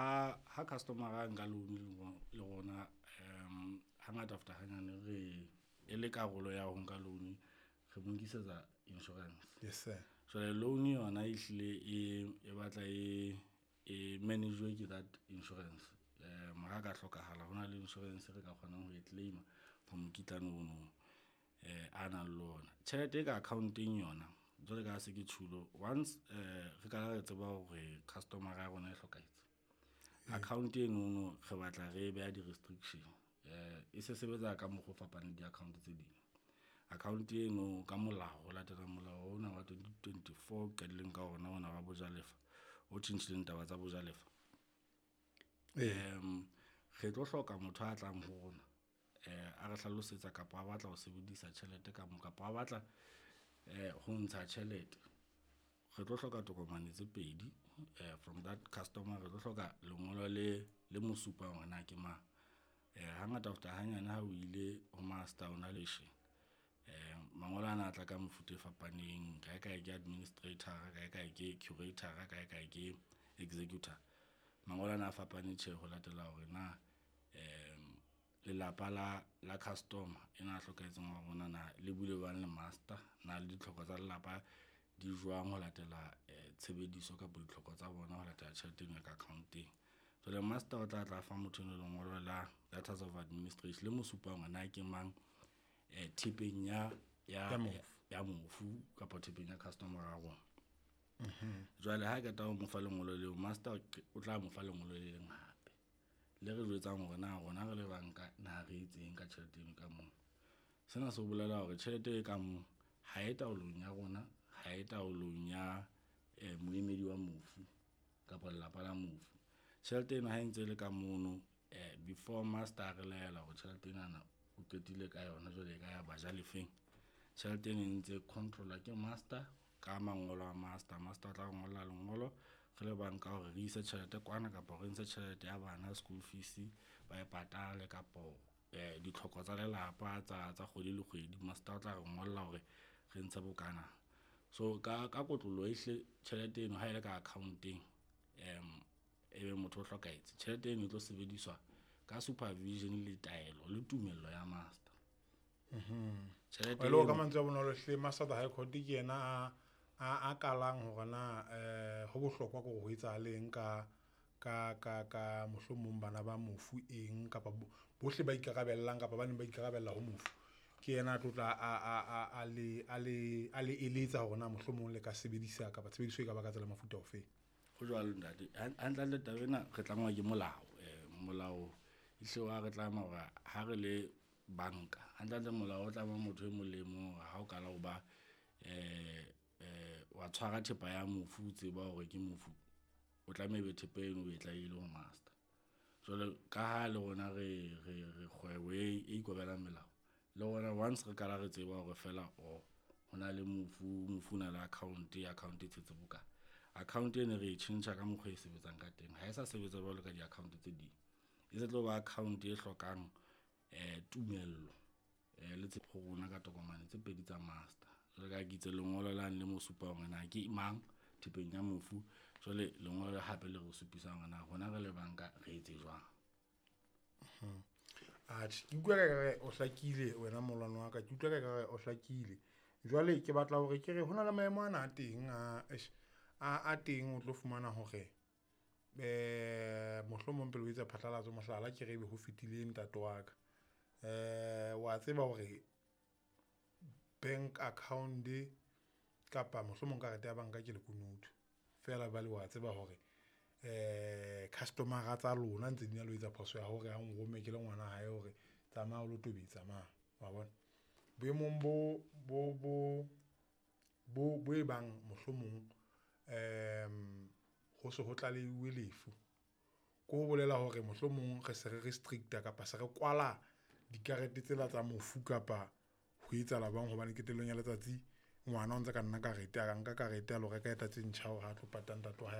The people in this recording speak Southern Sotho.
Ha customer a nka loan le rona, hangata ho feta hanyane re e le karolo ya ho nka loan, re mo nkisetsa insurance. Yes sir. Jwale loan yona e hlile e batla e manage-uwe ke that insurance. Ha ka hlokahala hona le insurance re ka kgonang ho e claim-a for mokitlane ono a nang le ona. Tjhelete e ka account-eng yona jwalo ka ha se ke tjhulo once re ka re tseba hore customer-a ya rona e hlokahetse, account enono re batla re e beha di-restriction. E se sebetsa ka mokgwa o fapaneng le di-account tse ding. Account eno ka molao ho latela molao ona wa 2024 o qadileng ka ona ona wa bojalefa, o tjhentjhileng taba tsa bojalefa. Re tlo hloka motho a tlang ho rona a re hlalosetsa kapa a batla ho sebedisa tjhelete ka moo, kapa a batla ho ntsha tjhelete. Re tlo hloka tokomane tse pedi from that customer, re tlo hloka lengolo le mo supang hore na ke mang. Hangata ho feta hanyane ha o ile ho master o na le mangolo ana a tla ka mefuta e fapaneng, kae kae ke administrator, kae kae ke curator, kae kae ke executor. Mangolo ana a fapane tjhe ho latela hore na lelapa la customer ena a hlokahetseng wa rona na le buile jwang le master, na le ditlhoko tsa lelapa di jwang ho latela tshebediso kapa ditlhoko tsa bona ho latela tjhelete eno e ka account-eng. Jwale master o tla tla fa motho enwa lengolo la letters of administration le mo supang hore na ke mang thepeng ya Ya mofu. Ya mofu kapa thepeng ya customer ya rona. Jwale ha qeta ho mo fa lengolo leo, master o tla mo fa lengolo le leng hape le re jwetsang hore na rona re le banka na re etseng ka tjhelete eno ka moo. Sena se bolela hore tjhelete e ka moo ha e taolong ya rona, ha e taolong ya moemedi wa mofu kapa lelapa la mofu. Tjhelete eno ha e ntse e le ka mono before master a re laela hore tjhelete enana o qetile ka yona jwale e ka ya bajalefeng, tjhelete eno e ntse control-wa ke master ka mangolo a master. Master o tla re ngolla lengolo re le banka hore re ise tjhelete kwana kapa re ntshe tjhelete ya bana school fees ba e patale kapo ditlhoko tsa lelapa tsa kgwedi le kgwedi. Master o tla re ngolla hore re ntshe bokana. So ka kotloloho ehlile tjhelete eno ha ele ka account-eng ebe motho o hlokahetse, tjhelete eno e tlo sebediswa ka supervision le taelo le tumello ya master. Tjhelete E le hore ka eno mantswe a bonolo hle master of the high court ke yena a kalang hore na ho bohlokwa ke hore ho etsahaleng ka mohlomong bana ba mofu eng kapa bohle ba ikarabellang kapa ba neng ba ikarabella ho mofu. Ke yena a tlo tla a le eletsa hore na mohlomong le ka sebedisa kapa tshebediso e ka ba ka tsela mofuta ofeng. Ho jwalo ntate. Hantle hantle taba ena re tlangwa ke molao. Molao ehlile wa re tlama hore ha re le banka, hantle hantle molao o tlama motho e mong le mong hore ha o kala ho ba wa tshwara thepa ya mofu, o tseba hore ke mofu, o tlameha ebe thepa eno o e tlalehile ho master. Jwale ka ha le rona re kgwebo e ikobelang melao, le rona once re kala re tseba hore feela o hona le mofu, mofu o na le account, account e tshetse bokae. Account eno re e tjhentjha ka mokgwa e sebetsang ka teng, ha e sa sebetsa jwalo ka di-account tse ding. E se tlo ba account e hlokang tumello le ho rona ka tokomane tse pedi tsa master. Jwalo ka ha ke itse lengolo lane le mo supang hore na ke mang thepeng ya mofu, jwale lengolo le hape le re supisang hore na rona re le banka re etse jwang. Atjhe, ke utlwa ka ekare o hlakile wena molwana wa ka, ke utlwa ka ekare o hlakile. Jwale ke batla hore ke re hona le maemo ana a teng a eish, a teng o tlo fumana hore mohlomong pele o etsa phatlalatso, mohlala ke re ebe ho fetile ntate wa ka. Wa tseba hore bank account kapa mohlomong karete ya banka ke lekunutu, feela jwale wa tseba hore customer-a tsa lona ntse di na le ho etsa phoso ya hore a nromme ke le ngwana hae hore tsamaya o lo tobetsa mane wa bona. Boemong bo e bang mohlomong ho se ho tlaleuwe lefu, ke ho bolela hore mohlomong re se re restrict-a kapa se re kwala dikarete tsela tsa mofu kapa ho etsahala jwang hobane qetellong ya letsatsi ngwana o ntse ka nna karete, a nka karete a lo reka tse ntjha hore ha tlo pata ntate wa hae.